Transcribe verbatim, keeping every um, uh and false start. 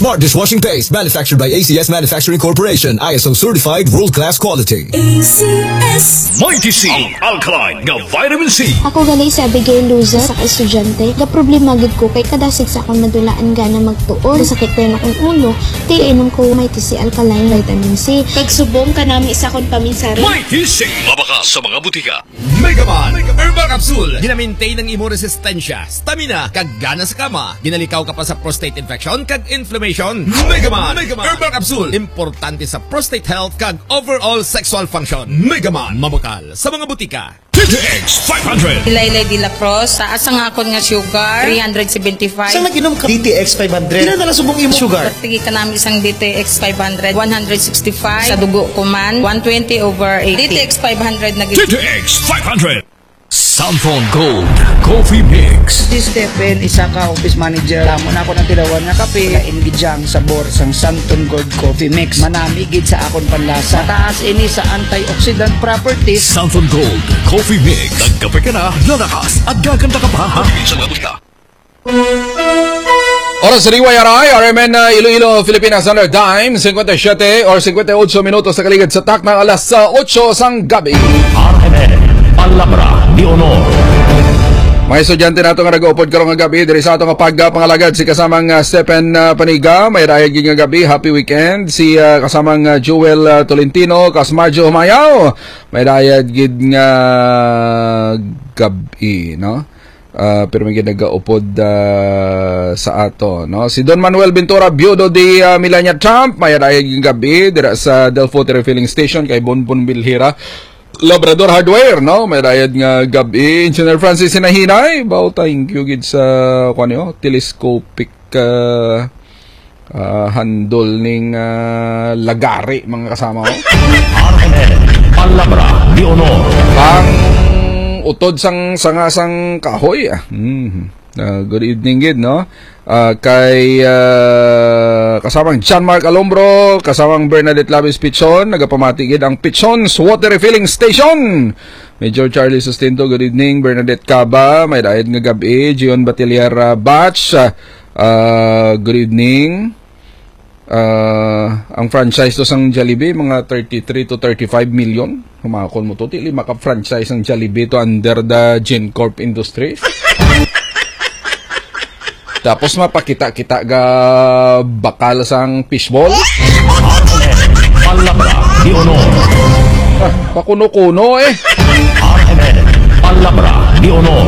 Smart dishwashing paste, manufactured by A C S Manufacturing Corporation, I S O certified, world-class quality. A C S. Mighty C, ang alkaline nga vitamin C. Ako gali si Abigail Luzon, sa ka estudyante. Gaproblema gid ko kay kadasig sa akong nadula ang gana magtuon. Sakit din akong ulo, di inom ko Mighty C alkaline vitamin C. Kag subong kanami sa akong paminsari. Mighty C, mabakal sa mga butika. Megaman Herbal Capsule. Ginamintain ang imo resistensya, stamina, kag gana sa kama. Ginalikaw ka pa sa prostate infection kag inflammation. Megaman Herbal Capsule. Importante sa prostate health kag overall sexual function. Megaman. Mabakal sa mga butika. D T X five hundred. Laylay de la Cruz, taas ang akon nga sugar, three hundred seventy-five. Sa nag-inom ka D T X five hundred, pila na lang subong imo sugar? Pagtigi ka namin isang D T X five hundred, one hundred sixty-five. Sa dugo ko man, one twenty over eighty. D T X five hundred na gid. D T X five hundred. Samsung Gold Coffee Mix. Si Stephen, isa ka office manager. Damo na ako ng tilawan nga kape. Lain gid siya ang sabor sang Santon Gold Coffee Mix. Manami gid sa akon panlasa. Mataas ini sa antioxidant properties. Samsung Gold Coffee Mix. Nagkape ka na, lalakas at gaganda ka pa, ha? Sa mga butika. Oras sa D Y R I, R M N, uh, Iloilo, Philippines Standard Time, cinquanta y siete or cinquanta y ocho minutos sa kaligid sa takna alas, uh, ocho sang gabi. R M N, Palabra de Honor. Mga estudyante nato nga nag-uupod karon nga gabi diri sa ato nga pagpangalagad, si kasamang, uh, Stephen, uh, Paniga, may dayag gid nga gabi, happy weekend. Si, uh, kasamang, uh, Joel, uh, Tolentino, Kasmarjo Humayaw, may dayag gid nga gabi, no? Ah, pero may ginagaupod, ah, sa ato, no? Si Don Manuel Ventura, biyudo di, ah, Melania Trump, may dayag nga gabi dira sa Del Fuerte Refilling Station kay Bonbon Bilhira, Labrador Hardware, no? May dayag nga gabi. Engineer Francis Sinahinay, bao, thank you gid sa, kuwan niyo, telescopic, ah, ah, handol ning, ah, lagari, mga kasama ko. R M N, Palabra de Honor. Ang utod sang sanga sang kahoy, ah. Mm. Ah, good evening gid, no? Ah, kay, ah, kasamang John Mark Alombro, kasamang Bernadette Labis Pichon, nagapamati gid ang Pichon's Water Refilling Station. Major Charlie Sustento, good evening. Bernadette Caba, may dayag nga gabi. Gion Batilier, ah, Batch, ah, ah, good evening. Ah, ang franchise to sang Jollibee, mga thirty-three to thirty-five million. Humakon mo to, dili maka-franchise ang Jollibee to under the GenCorp Industries. Tapos mapakita-kita ga bakal sang fishball. Palabra de Honor. Ah, pakuno-kuno eh. R M N, Palabra de Honor.